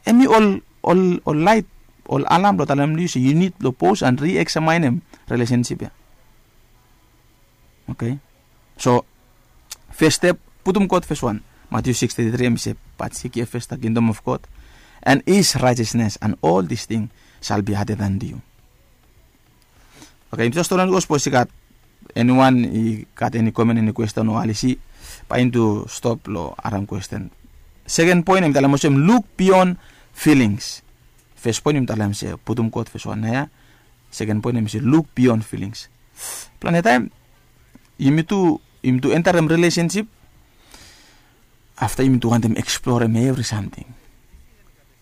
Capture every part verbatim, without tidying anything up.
Em i ol ol ol lait, ol alam blong talem long yu se yu nid blong pos and rieksamenem relesensip ya. Oke. So fes step, putum God fes wan. Matthew six thirty three em i se, but seek ye first the kingdom of God and his righteousness, and all this thing shall be added unto you. Oke, yumi tu jas tolon go sapos i gat eniwan i gat eni komen, eni kwesten o alisi, bae yumi tu stop long harem kwesten. Seken poen em i talem olsem, luk bion filings. Fes poen yumi talem se putum God fes wan na ya. Seken poen em i se luk bion filings. Plante taem yumi tu yumi tu entarem relesensip, afta yumi tu wantem eksplorem evri samting.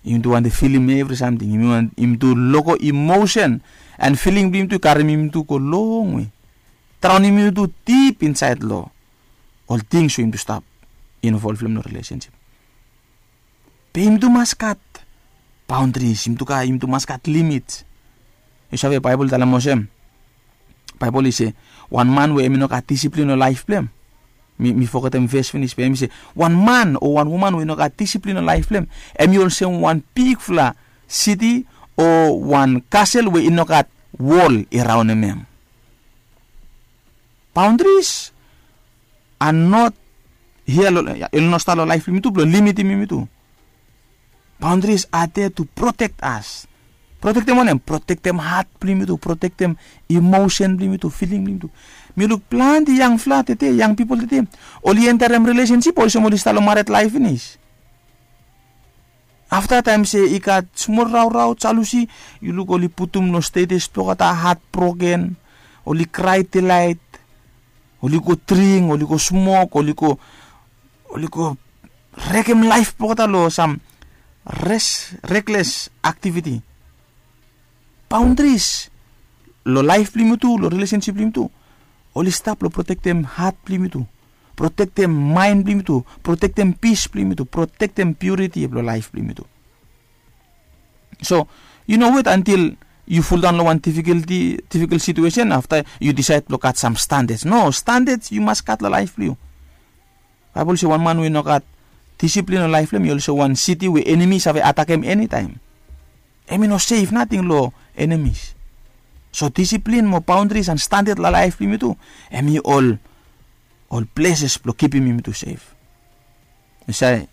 Yumi tu wantem filim evri samting. Yumi tu loko emosen and filing blong yumi tu i karem yumi tu go longwe, traonem yumi tu dip insaed long ol tings we yumi tu stap involv long relesensip. Be yumi tu mas gat baondris, yumi tu gat yumi tu mas gat limit. Yu save Baebol i talem olsem, Baebol i se wan man we em i no gat disiplin long laef blong em. Mi fogetem ves finis, be em i se wan man o wan woman we i no gat disiplin long laef blong em, em i olsem wan bigfala siti o wan kasel we i no gat wol i raonem em. Baondris a not hia long, i no stap long laef blong yumi tu blong limitim yumi tu. Baondris a de tu protek as. Protektem wanem? Protektem hat blong yumi tu, protektem emosen blong yumi tu, filing blong yumi tu. Mi luk plante yangfala tede, yang pipol tede, oli entarem relesensip olsem oli stap long mared laef finis. Afta taem se i gat smol raorao, jalusi, yu luk oli putum long stetes blong olgeta, hat broken, oli krae delaet, oli go dring, oli go smok, oli go oli go rekem laef blong olgeta long sam res rekles aktiviti. Baondris long laef blong yumi tu, long relesensip blong yumi tu, oli stap long protektem hat blong yumi tu, protektem maen blong yumi tu, protektem pis blong yumi tu, protektem piuriti blong laef blong yumi tu. So yu no wet antil yu fuldaon long wan difikolti, difikol situesen afta yu disaed blong gat sam standards. No, standards yu mas gat long laef blong yu. Baebol i se wan man we i no gat disiplin long laef blong em i olsem wan siti we enemi i save atakem enitaem. Em i no sef nating long enemis. So disiplin mo baondris and standard long laef blong yumi tu, em i ol ol pleses blong kipim yumi tu sef. Yu save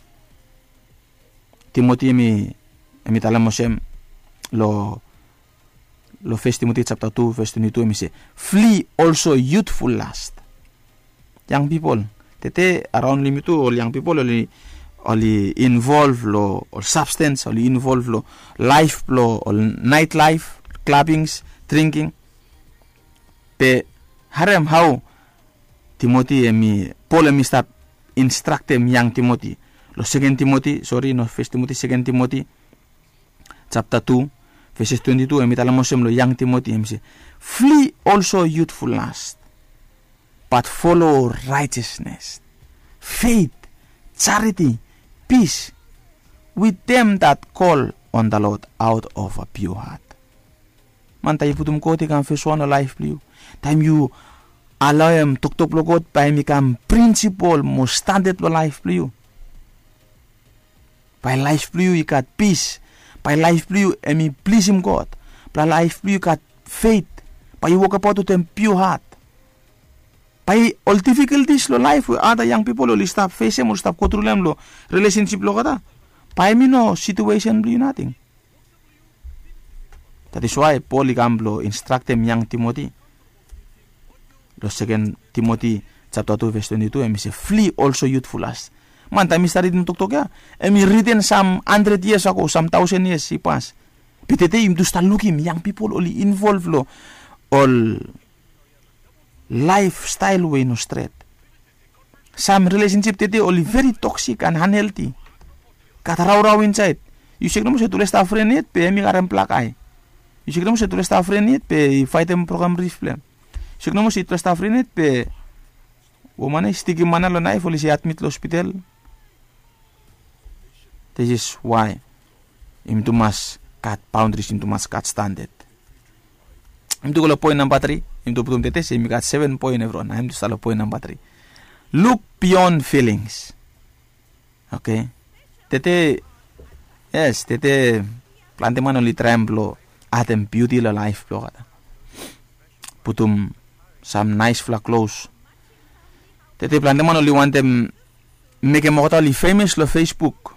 Timoti em i talem olsem long long Fes Timoti japta tu ves twenti tu, em i se, flee also youthful lust. Yang pipol tede araon long yumi tu, ol yang pipol oli oli involv long ol sabstens, oli involv long laef blong ol naet laef, klabings, dringking. Be harem hao Timoti em i, Pol em i stap instraktem yang Timoti long Seken Timoti, sori, no Fes Timoti, Seken Timoti japta tu, veses twenti tu, em i talem olsem long yang Timoti, em i se, flee also youthful lust, but follow righteousness, faith, charity, peace with them that call on the Lord out of a pure heart. Man, taem yu putum God i kam fes wan long laef blong yu, taem yu alaoem toktok blong God bae em i kam prinsipol mo standad blong laef blong yu, bae laef blong yu i gat pis, bae laef blong yu em i plisim God, bae laef blong yu i gat fet, bae yu wokabaot wetem pure hat. Bae ol difikoltis long laef we ada yang pipol oli stap fesem, oli stap gotru long hem long rilesensip blong olgeta, bae em i no situesen blong yu nating. That is why Pol i kam blong instraktem yang Timoti long Seken Timoti japta tu ves twenti tu, em i se, flee also youthful lust. Man, taem mi stap ridim toktok ya, em i riten sam handred yias ago, sam taosen yias i pas. Be tede yumi tu stap lukim yang pipol oli involv long ol laefstael we i no stret. Sam rilesensip tede oli veri toksik and anhelti. Gat raorao insaed. Yu sek nomo se tufala i stap fren yet be em i karem blakae. Yu sek nomo se tufala i stap fren yet be i faetem program rif blong hem. Yu sek nomo se tufala i stap fren yet be woman ya i stikim man ya long naef, oli se i admit long hospital. This is why yumi tu mas gat baondris, yumi tu mas gat standad. Yumi tu go long poen namba tri. Yumi tu putum tede se yumi gat seven poen evriwan. Nao yumi tu stap long poen namba tri. Look beyond feelings. Oke. Tede Yes, tete planti man oli traem blong adem biuti long laef blong olgeta. Putum sam naesfala klos. Tete planti man oli wantem mekem olgeta oli femes long Facebook.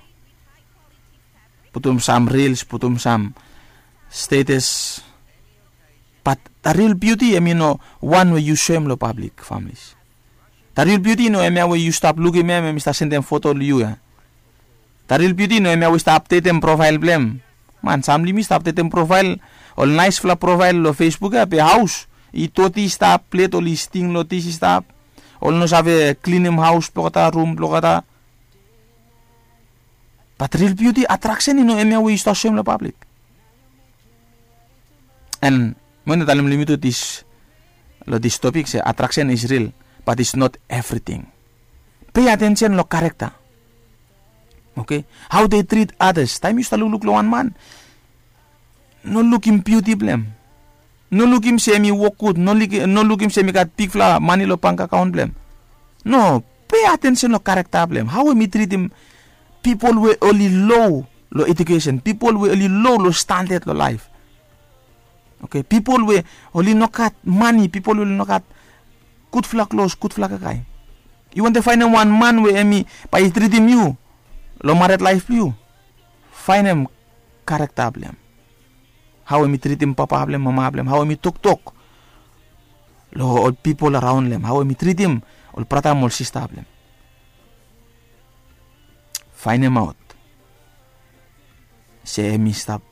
Putum sam rils, putum sam status. Bat da ril biuti em i no wan we yu soem long pablik, familis. Da ril biuti i no em ya we yu stap lukim em em i stap sendem foto long yu ya. Da ril biuti i no em ya we i stap apdetem profael blong em. Man, sam long yumi i stap apdetem profael, ol naesfala profael long Facebook ya, be haos i doti i stap, plet oli sting long dis i stap, oli no save klinim haos blong olgeta, rum blong olgeta. Bat ril biuti, atraksen i no em ya we yu stap soem long pablik. And mi wantem talem long yumi tu dis, long dis topik se attraction is real, but it's not everything. Pay attention long character. Okay? How they treat others. Taem yu stap lukluk long wan man, no lukim biuti blong em. No lukim se em i wok gud, no lukim se em i gat bigfala mane long bank akaon blong em. No, pay attention long character blong em. How em i tritim pipol we oli lo long edukesen, pipol we oli lo long standard long laef. Okay, pipol we oli no gat mane, pipol we oli no gat gudfala klos, gudfala kakae. Yu wantem faenem wan man we em i bae i tritim yu long mared laef blong yu, faenem karakta blong em. Hao em i tritim papa blong em, mama blong em, hao em i toktok long ol pipol araon long em, hao em i tritim ol brata mo ol sista blong em. Faenemaot se em i stap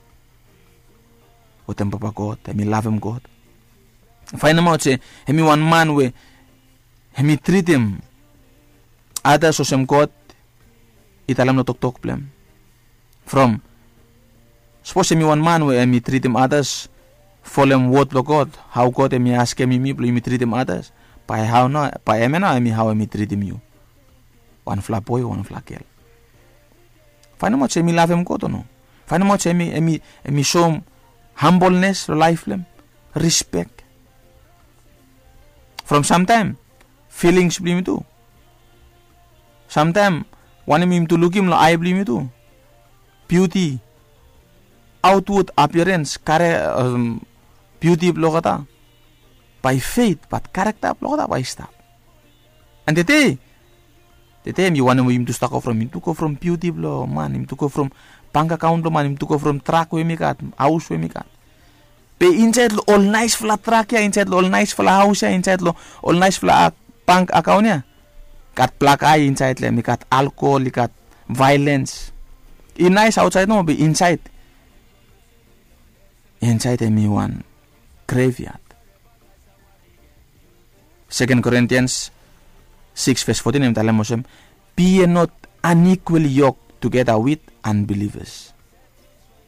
wetem Papa God, em i lavem God. Faenemaot se em i wan man we em i tritim atas olsem God i talem long toktok blong em. From sapos em i wan man we em i tritim atas folem wod blong God, hao God em i askem yumi blong yumi tritim atas, bae hao nao, bae em ya nao em i hao em i tritim yu, wanfala boe o wanfala gel. Faenemaot se em i lavem God o no. Faenemaot se em i, em i, em i soem hambolnes long laef blong em, rispek. From samtaem filings blong yumi tu, samtaem wanem yumi tu lukim long ae blong yumi tu, biuti, aotwod apiarens, kare, biuti blong olgeta bae i fed, bat karakta blong olgeta bae i stap. And tede, tede em i wanem we yumi tu stap go from, yumi tu go from biuti blong man, yumi tu go from bank akaon blong man, yumi tu go from drak we yumi gat, haos we yumi gat. Be insaed long ol naesfala drak ya, insaed long ol naesfala haos ya, insaed long ol naesfala bank akaon ya, gat blak ae insaed long em, i gat alkohol, i gat vaelens. I naes aotsaed nomo be insaed, insaed em i wan greviad. Second Corinthians six verse fourteen em i talem olsem, "Be ye not unequally yoked together with unbelievers.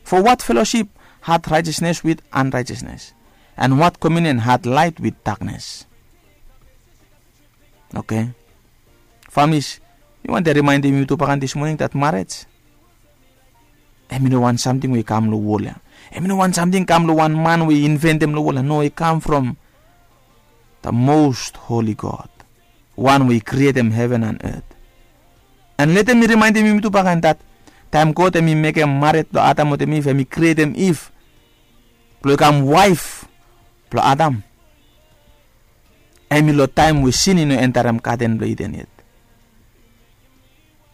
For what fellowship hath righteousness with unrighteousness? And what communion hath light with darkness?" Okay. Families, mi wantem rimaendem yumi tu bakan dis moning dat marej em i no wan samting we i kam long wol ya. Em i no wan samting i kam long wan man we i inventem long wol ya. No, i kam from the most holy God, wan we i krietem heven and earth. And letem mi rimaendem yumi tu bakan dat taem God em i mekem mared blong Adam wetem Iv, em i krietem Iv blong i kam waef blong Adam. Em i long taem we sin i no entarem gaden blong Iden yet.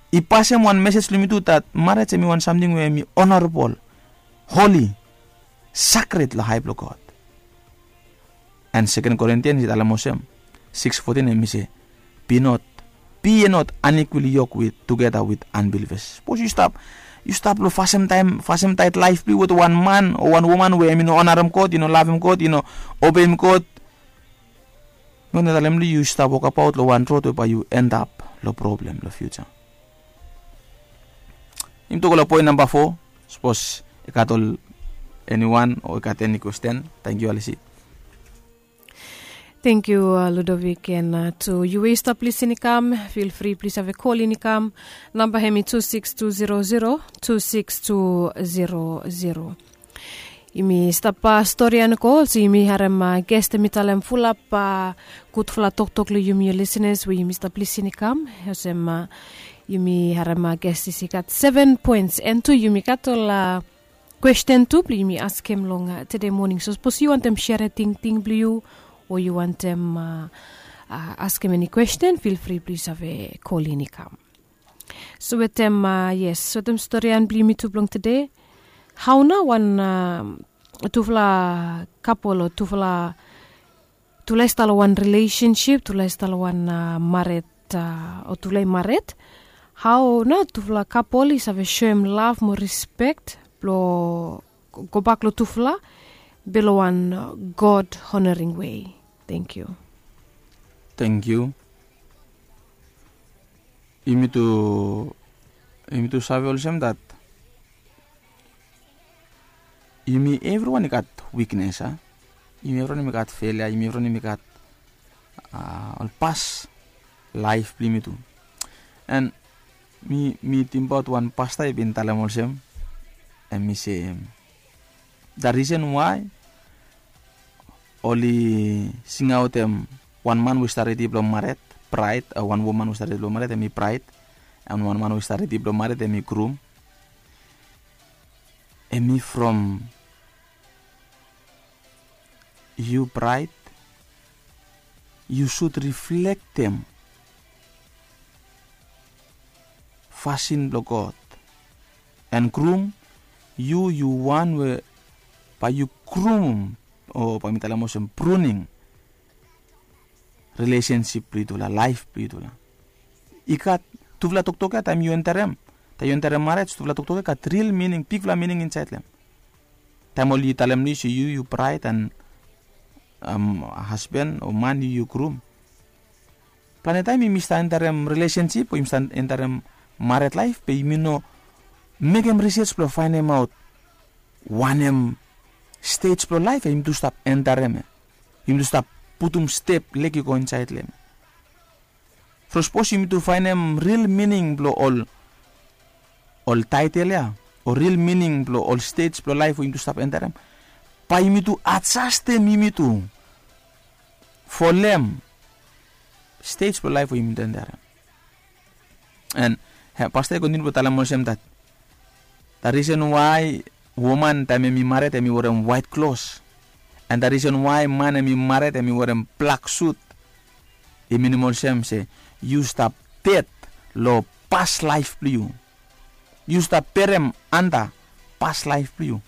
I pasem wan mesej long yumi tu dat marej em i wan samting we em i honorabol, holi, sakred long ae blong God. And Second Corinthians i talem olsem, six fourteen em i se, "Be not, be ye not unequally yoked with, together with unbelievers." Sapos yu stap, yu stap long fasem taem, fasem taet laef blong yu wetem wan man o wan woman we em i no onarem God, i no lavem God, i no obeim God, mi wantem talem long yu, yu stap wokabaot long wan rod we bae yu endap long problem long fiuja. Yumi tu go long poen namba fo. Sapos i gat ol, eniwan o i gat eni kwesten. Tangkiu, Alisi. Tangkiu, Ludovic, and tu yu we yu stap lisin i kam, feel free, plis save kolin i kam. Namba hem i tu sikis tu zero zero, tu sikis tu zero zero. Yumi stap stori ya nogo, olsem yumi harem ges, hem i talem fulap gudfala toktok long yumi, yu lisenas we yumi stap lisin i kam. Olsem Yumi harem gestis i gat seven points, and tu yumi gat ol kwesten tu blong yumi askem long tede moning. So sapos yu wantem sere tingting blong yu, o yu wantem askem eni kwesten, fil fri blong yu save kolin i kam. So wetem yes, wetem storian blong yumi tu blong tede, hau na wan tufala kapol o tufala tufala i stap long wan rilesensip, tufala i stap long wan maret, o tufala i maret, hau na tufala kapol i save soem lav mo rispek blong gobak long tufala be long wan god honoring wei? Thank you. Thank you. Yumi tu yumi tu save olsem dat yumi evriwan i gat wiknes a. Yumi evriwan yumi gat felia, yumi evriwan yumi gat ol pas laef blong yumi tu. An mi mi tingbaot wan pasta i bin talem olsem, em i se, da risen wae oli singaotem wan man we i stap redi blong maret, braet, wan woman we i stap redi blong maret em i braet, an wan man we i stap redi blong maret em i grum. Em i from yu braet, yu sud riflektem fasin blong god. An grum, yu yu wan we bae yu grumum, o bae mi talem olsem pruning rilesensip blong yutufala, laef blong yutufala. I gat tufala toktok ya taem yu enterem, taem yu enterem marej, tufala toktok ya i gat ril mining, bigfala mining insaed long hem. Taem oli talem long yu se yu yu braet an hasben o man yu yu grum. Plante taem yumi stap enterem rilesensip o yumi stap enterem mared laef be yumi no mekem risej blong faenemaot wanem stej blong laef ya yumi tu stap enterem ya, yumi tu stap putum step lek i go insaed long hem. From sapos yumi tu faenem ril mining blong ol ol taetel ya, o ril mining blong ol stej blong laef we yumi tu stap enterem, bae yumi tu ajastem yumi tu folem stej blong laef we yumi tu enterem. An pasta i kontiniu blong talem olsem dat da risen wae woman taem hem i mared hem i werem waet klos, an da risen wae man hem i mared hem i werem blak sut, i minim olsem se yu stap ded long pas laef blong yu. Yu stap berem anda pas laef blong yu.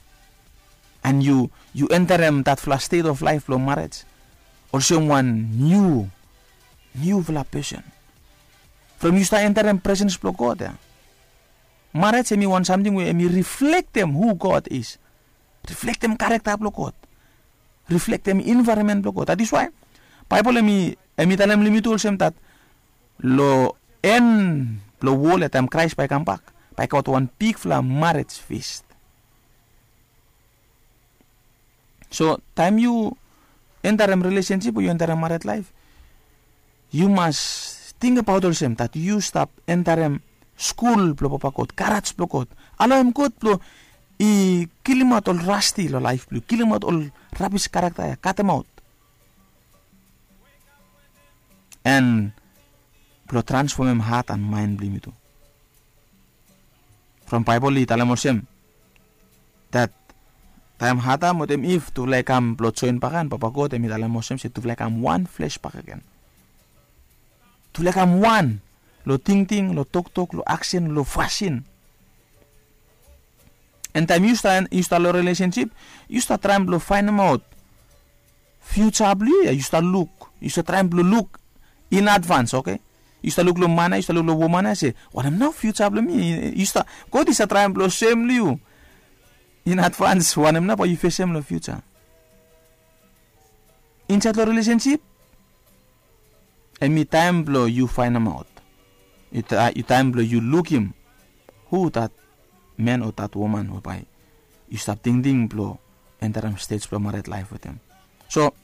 An yu yu enterem datfala stet of laef blong marej olsem wan niu niufala pesen. From yu stap enterem presens blong god ya. Marej hem i wan samting we hem i riflektem hu god is, riflektem karekta blong god, riflektem envaeronmen blong god. Datis wae baebol hem i talem long yumi tu olsem dat long en blong wol ya taem kraes bae i kambak, bae i gat wan bigfala marej fis. So taem yu enterem rilesensip o yu enterem mared laef, yu mas tingbaot olsem dat yu stap enterem skul blong papa god, garaj blong god. Alaoem god blong i kilimaot ol rasti long laef blong yu, kilimaot ol rabis karekta ya, katemaot, an blong transfomem hat an maen blong yumi tu. From baebol i talem olsem dat taem adam wetem iv tufala i kam blong joen bakegen, papa god hem i talem olsem se tufala i kam wan fles bakegen. Tufala i kam wan long tingting, long toktok, long aksen, long fasin. An taem yu stap long rilesensip, yu stap traem blong faenemaot fiuja blong yu ya, yu stap luk, yu stap traem blong luk in advans, oke? Yu stap luk long man ya, yu stap luk long woman ya se wanem nao fiuja blong mi? Yu stap, god i stap traem blong soem long yu in advans wanem nao bae yu fesem long fiuja. Insaed long rilesensip, hem i taem blong yu faenemaot, i taem blong yu lukim hu dat man o dat woman we bae yu stap tingting blong enterem stej blong mared laef wetem. So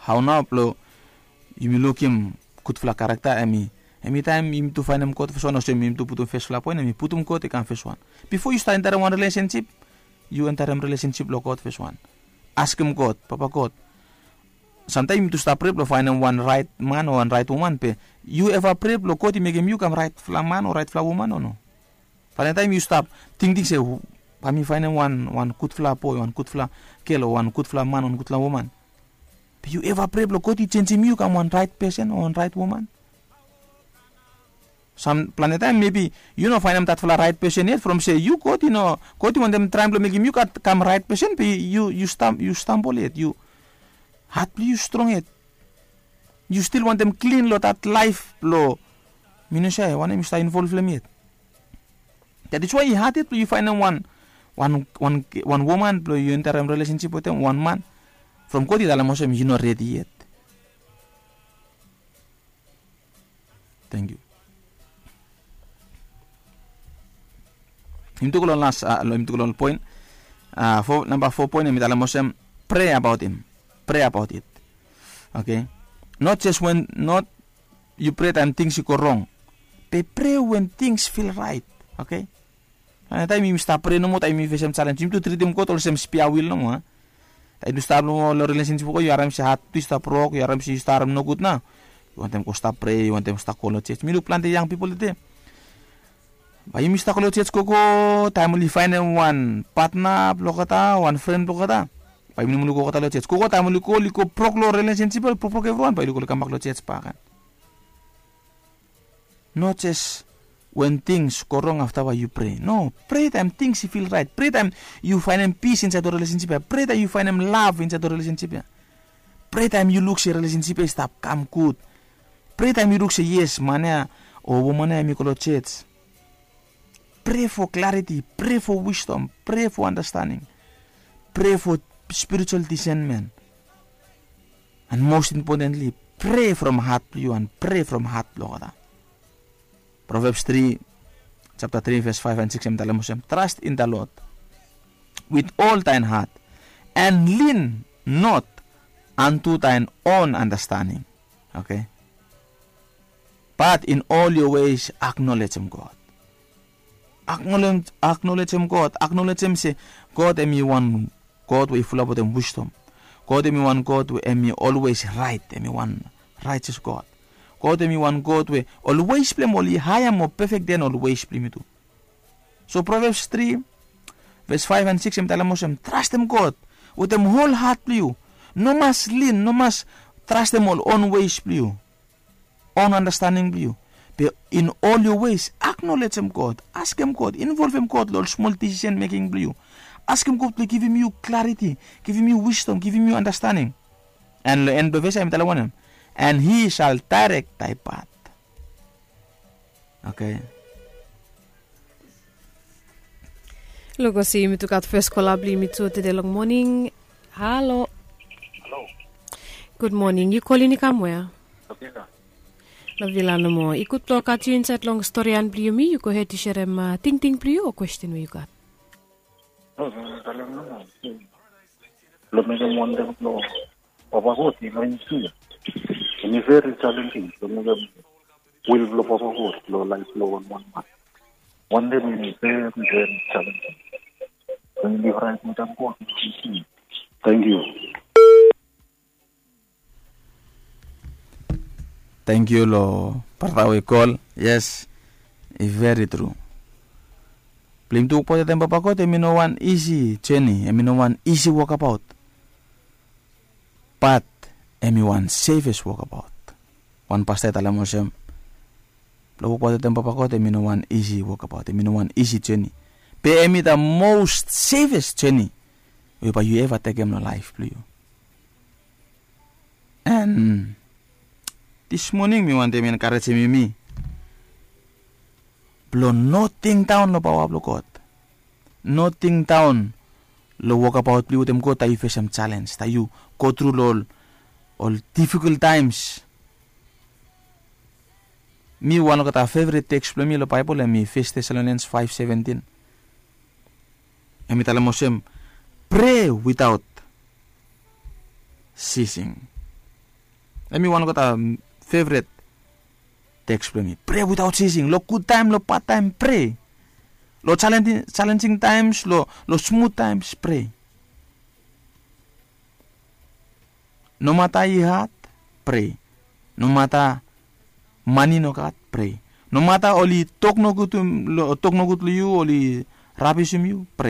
hao nao blong yumi lukim gudfala karekta? Hem i taem yumi tu faenem god fes wan, olsem yumi tu putum fesfala poen, hem i putum god i kam fes wan. Bifo yu stap enterem wan rilesensip, yu enterem rilesensip long god fes wan. Askem god, papa god, Samtaem yumi tu stap prea blong faenem wan raet man o wan raet woman, be yu eva prea blong God i mekem yu kam raetfala man o raetfala woman o no? Planetaem yu stap tingting se, bae mi faenem wan wan gudfala boe, wan gudfala gel o wan gudfala man o wan gudfala woman. Be yu eva prea blong God i jenjem yu kam wan raet pesen o wan raet woman? Sam planetaem mebi yu no faenem datfala raet pesen yet, from se yu God i no, God i wantem traem blong mekem yu kam raet pesen, be yu yu stambol yet, yu hat blong yu strong yet. Yu stil wantem klin long dat laef blong mi no save wanem yu stap involv long hem yet. Dat is wae i had yet blong yu faenem wan wan wan wan woman blong yu enterem relesensip wetem wan man, from God i talem olsem yu no redi yet. Tangkiu. Yumi tu go long las, yumi tu go long poen. Namba fo poen em i talem olsem, prea abaot hem. Prea abaot it. Oke. Not jes wen not yu prea taem tings i go rong, be prea wen tings fil raet. Oke. Taem yumi stap prea nomo taem yumi fesem jalenj, yumi tu tritim God olsem spia wil nomo. Taem yu stap long relesensip, yu harem se hat tu i stap rok, yu harem se yu stap harem nogud nao, yu wantem go stap prea, yu wantem stap go long jej. Mi luk plante yang pipol tede, bae yumi stap go long jej gogo, taem oli faenem wan patna blong olgeta, wan fren blong olgeta, bae yumi no mulik go olgeta long jej gogo. Taem oli go oli go brok long relesensip, oli brokbrok evriwan, bae oli go oli kambak long jej bak. Not jes wen tings go rong afta bae yu prea. No, prea taem tings i fil raet. Prea taem yu faenem pis insaed long relesensip ya. Prea taem yu faenem lav insaed long relesensip ya. Prea taem yu luk se relesensip ya i stap kam gud. Prea taem yu luk se yes, man ya o woman ya em i go long jej. Prea fo klariti, prea fo wisdom, prea fo anastening, prea fo spiritual disenmen. And most importantly, prea from hat blong yu and prea from hat blong olgeta. Proverbs tri, japta tri, ves faef and sikis em i talem olsem, trust in the Lord with all thine heart and lean not unto thine own understanding. Oke. But in all your ways acknowledge him God. Acknowledge, acknowledge him God. Acknowledge him se God em i wan God we i fulap wetem wisdom. God em i wan God we em i olwes raet, em i wan righteous God. God em i wan God we ol ways blong hem oli haea mo pefek den ol ways blong yumi tu. So Proverbs tri, ves faef and sikis em i talem olsem, trastem God wetem hol hat blong yu. No mas lin, no mas trastem ol on ways blong yu, on anastening blong yu. Be in all your ways acknowledge him God, askem God, involvem God long ol smol decision making blong yu. Askem God blong givim yu clarity, givim yu wisdom, givim yu anastening. And long en blong ves ya em i talem wanem? And he shall direct thy path. Oke. Luk olsem yumi tu gat fes kola blong yumi tu tede long moning. Halo. Halo. Gud moning. Yu kolin i kam wea? Long vila. Long vila nomo. I gud blong gat yu insaed long storian blong yumi. Yu gohed yu serem tingting blong yu o kwesten we yu gat. Long mekem wantaem blong Papa God i lain tu ya. Em i veri jalenjing blong mekem wil blong Papa God long laef blong wanwan man. Wantaem em i veri veri jalenjing. Blong yu liv raet wantaem God i lain tu ya. Tangkiu. Tangkiu long brata we i kol. Yes, i veri tru. Blong yumi tu wokbaot wetem Papa God em i no wan isi joni, em i no wan isi wokabaot. Bat em i wan sefes wokabaot. Wan pasta i talem olsem, blong wokbaot wetem Papa God em i no wan isi wokabaot, em i no wan isi joni. Be em i the most sefes joni we bae yu eva tekem long laef blong yu. And this morning mi wantem enkarejem yumi blong no tingdaon long paoa blong God. No tingdaon long wokabaot blong yu wetem God taem yu fesem jalenj, taem yu go tru long ol, ol difikol taems. Mi wan olgeta fevret teks blong mi long Baebol em i Fes Tesalonians faef seventin. Em i talem olsem, pray without ceasing. Em i wan olgeta fevret teks blong mi. Pray without ceasing. Long gud taem, long bad taem, pray. Long jalenjing, jalenjing taems, long, long smut taems, pray. Nomata i had, prea. Nomata mani no gat, prea. Nomata oli tok nogud long yu, oli rabisim yu,